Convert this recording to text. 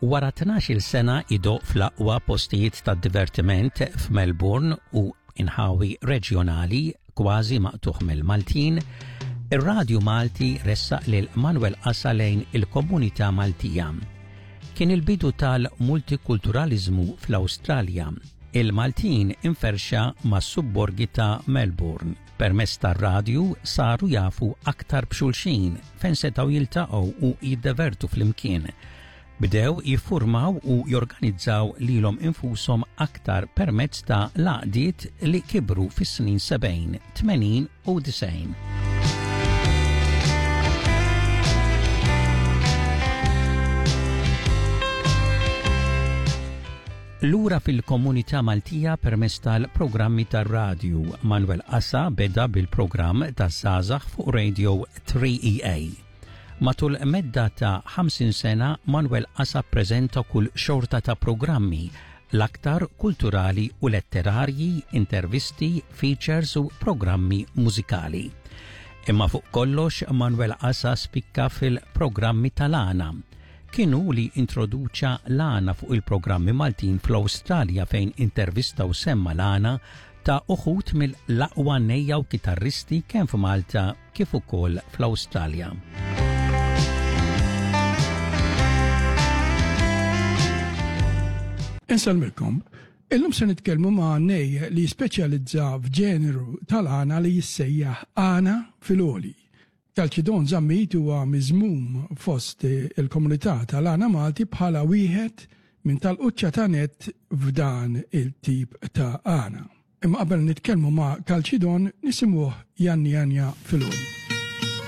Wara 12-il sena idoqq fl-aqwa postijiet tad-divertiment f'Melbourne u inħawi reġjonali kważi maqtugħ mill-Maltin, ir-Radju Malti ressaq lil Manuel Qasa lejn il-komunità Maltija. Kien il-bidu tal-multikulturaliżmu fl-Awstralja. Il-Maltin inferxa mas-subborgi ta' Melbourne. Permezz tar-radju saru jafu aktar b'xulxin fejn setgħu jiltaqgħu u jiddevertu flimkien. Bdew jiffurmaw u jorganizzaw lilhom infushom aktar permezz ta' l-għaqdiet li kibru fis-snin 70, 80 u 90. Lura fil-komunità Maltija permezz tal-programmi tar-radju, Manuel Asa beda bil-programm taż-żgħażagħ fuq Radio 3EA. Matul medda ta' 50 sena, Manuel Asa ppreżenta kull xorta ta' programmi, l-aktar kulturali u letterarji, intervisti, features u programmi mużikali. Imma fuq kollox Manuel Asa spikka fil-programmi tal-għana. Kien hu li introduċa l-għana fuq il-programmi Maltin fl-Awstralja fejn intervista u semma l-għana ta' uħud mill-aqwa nejja u kitarristi kemm f'Malta kif ukoll fl-Awstralja. Insellmilkom. Illum se nitkellmu ma' nej li jispeċjalizza f'ġeneru tal-għana li jissejjaħ għana fil-għoli. Kalċidon Zammit huwa miżmum fost il-komunità tal-għana Malti bħala wieħed minn tal-quċċata nett f'dan il-tip ta' għana. Imma qabel nitkellmu ma' Kalċidon nisimgħuh jgħanni għanja fil-għoli.